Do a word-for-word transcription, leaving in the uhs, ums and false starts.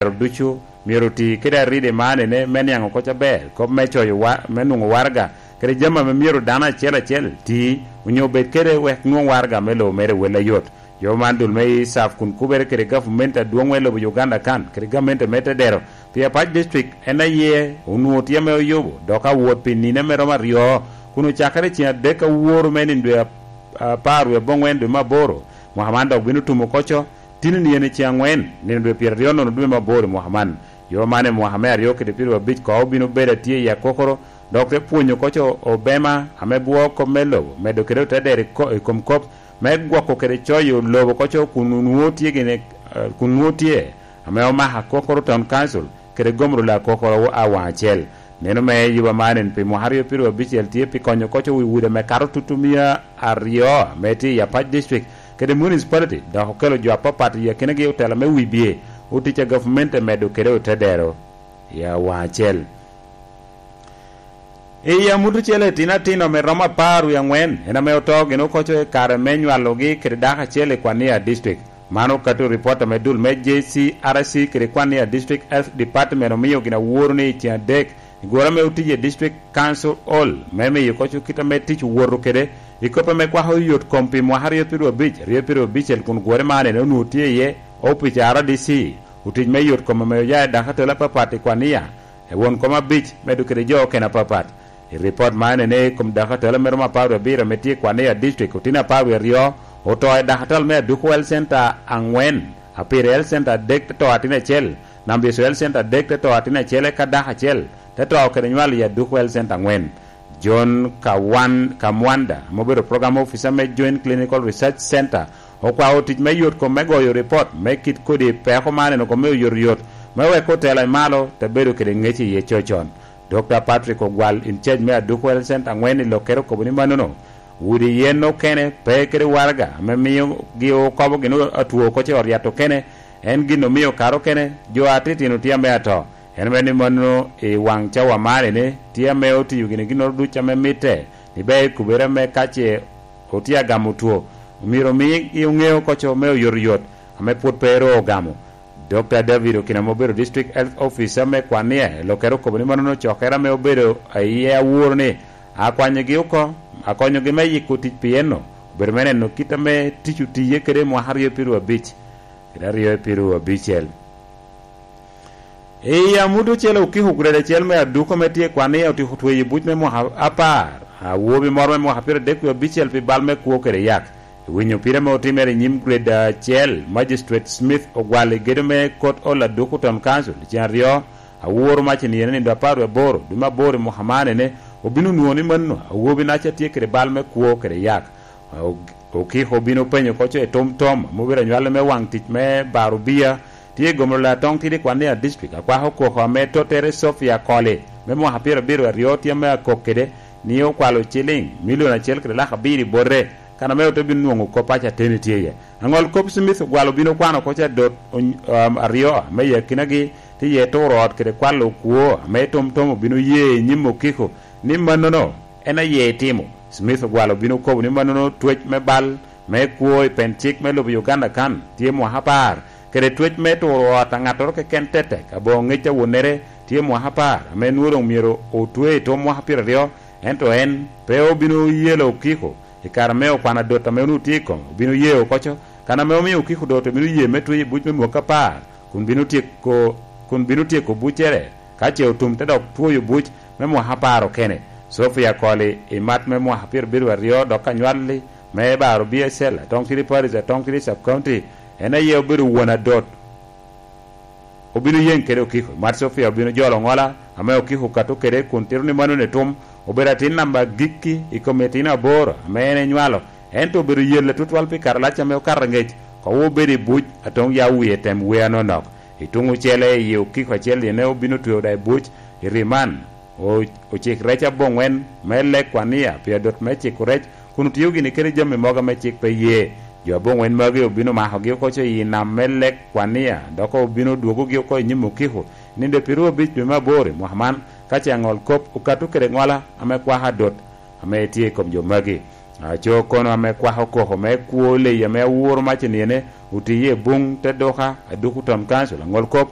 ero ducu myero oti kede aride man ene me niaŋ oko ca ber, kop me coyo wa-, me nwoŋo waraga, kede jami ame myero dano acel acel ti, onyo bed kede wek nwoŋ waraga me lobo mere wel ayot. Yo man dul me I S A F kun kubere kede gavumenti adwoŋ me lobo Uganda kan, kede gamente me tedero, pi Apac District en aye onwoŋo tye ame oyubo, dok awot pi nino me romo aryo, kun ocakere ceŋ adek aworo me nino dwe ap-, apar wie aboŋwen dwe me aboro, mwaka man dok bino tumo oko co, tini nino ceŋ aŋwen, nino dwe pyeraryo nono dwe me aboro i mwaka man. Yo man i mwaka me aryo kede pyeraryo abic ko obino bedo atye i akokoro, dok te pwonyo oko co obema ame bwoo kop me lobo, medo kede otedero i ko-, i kom kop me gwoko kede coyo lobo oko co kun onwoŋo tye gini, eh, kun nwoŋo tye ame omako akokoro Town Council kede gomro la akokoro a waŋ acel. Neno me yuba man en pi mwaka aryo pyeraryo abicel tye pi konyo oko co wi udi ame kato tutu mia aryo ame tye i Apac District kede municipality, dok okelo jo apapat i akinagi otela me wibye, otic a gavumenti medo kede otedero i awaŋ acel. I amut ocele, itino atino ame romo apar wie aŋwen en ame oto gin oko co i kare me nywalogi kede dako acel i Kwania District. Man okato i ripot ame dul me J C R C kede Kwania District Health Department omio gin aworo ni i ceŋ adek i goro ame otic i District Council Hall me miyo oko co kit ame tic owoto kede i kop ame kwako yot kom pi mwaka aryo pyeraryo abic, aryo pyeraryo abicel kun gure man en onwoŋo tye iye opic a R D C, otic me yot kom ame oya i dako atela apapat i Kwania, i won kom abic, medo kede jo okene apapat. I ripot man ene i kom dako atela me romo apar wie abiro ame tye i Kwania District, otino apar wie aryo oto i dako atela me Aduku Health Center aŋwen, Apiri Health Center adek te to atin acel, Nambiso Health Center adek te to atin acel, eka dako acel te to kede nywal i Aduku Health Center aŋwen. John Kawan-, Kamwanda, ame obedo program officer me Joint Clinical Research Center, okwao tic me yot kom me goyo ripot me kit kodi peko man en oko me oyotoyot, me wek otela i malo te bedo kede ŋec iye cocon. Dokta Patrick Ogwal, in charge me Aduku Health Center aŋwen i Lokere, okobo ni mannono, udi yen okene pe kede waraga ame mio gi okobo gin atwo oko ce oryat okene, en gin omio kare okene jo atitino tye ame ato. En ame ni mannono i waŋ cawa man ene tye ame otiyo gini ginnoro duc ame mitte, ni ber kubere ame ka ce otye agamo two, myero omi gi oŋeo oko co me oyotoyot ame pwod pe ru ogamo. Dokta David Okina ame obedo District Health Officer me Kwania i Lokere okobo ni mannono cokere ame obedo iye aworo ni akwanyogi oko, akonyogi me yiko tic pi enno, obedo me neno kit ame tic otiye kede i mwaka aryo pyeraryo abic kede aryo pyeraryo abicel. I amut ocele, okiko grade acel me Aduku ame tye i Kwania otyeko tweyo buc me mwaka apar, awobi moro me mwaka pyeradek wie abicel pi bal me kwo kede yak. I winyo pire ame otimere i nyim grade acel, Magistrate Smith Ogwal i gedo me Kot Ol Aduku Town Council i ceŋ aryo, aworo mac i nino nindo apar wie aboro, dwe me aboro i mwaka man ene, obino nwoŋo ni manno awobi-naca tye kede bal me kwo kede yak. O-, Okiko obino penyo oko co i tom tom ame obedo anywale me waŋ tic me baro bia, tye i gomro la Atong Tidi Kwania District, akwako koko ame tottere Sophia Koli me mwaka pyerabiro aryo tye ame akok kede, ni okwalo ciliŋ milion acel kede lak abiro i bote, kan ame ote bino nwoŋo kop paco ateni tye iye. Aŋol kop Smith Ogwal obino kwano oko ca dot ony-, um, aryo me i akinagi, tye iye turo ot kede kwalo kwo ame tom tom obino ye i nyim Okiko ni mannono en aye itimo. Smith Ogwal obino kobo ni mannono twec me bal me kwo i pen cik me lobo Uganda kan tye mwaka apar, kede twec me turo ot a ŋattoro keken tetek aboŋo ŋec awonere tye mwaka apar, ame nwoŋo doŋ myero otwe i tom mwaka pyeraryo, ento en pe obino yelo Okiko i kare me okwano adot ame onwoŋo tye i kome, obino ye oko co, kan ame omio Okiko dot obino ye me tweyo i buc me mwaka apar, kun bino tyeko, kun bino tyeko buccere. Ka ce otum te dok twoyo buc me mwaka apar okene, Sophia Koli i mat me mwaka pyerabiro aryo dok anywalli me baro B S L, Atong Tidi Parish, Atong Tidi Sub County, en aye obedo won adot. Obino yeŋ kede Okiko. Mat Sophia obino jolo ŋola ame Okiko okato kede kun tito ni mannono etum. Obedo atin namba agikki i kom itino aboro ame en enywalo, ento obedo yelle tutwal pi karalac ame okato aŋec, kowo obedo i buc, Atong ya wie tem wer anonok. I tuŋ ocele, i Okiko acel ene obino tweyo da i buc i ri man, o-, ocik rec aboŋwen me lek Kwania pi adot me ciko rec, kun otio gini kede jami mogo ame cik pe ye. Jo aboŋwen magi obino makogi oko co i nam me lek Kwania, dok obino dwogogi oko i nyim Okiko i nino pyeraryo abic dwe me aboro i mwaka man, ka ce aŋol kop okato kede ŋola ame kwako adot ame tye i kom jo magi. Aco kono ame kwako koko me kwo leyi ame aworo mac i nino, otiye i buŋ te duka, Aduku Town Council, aŋol kop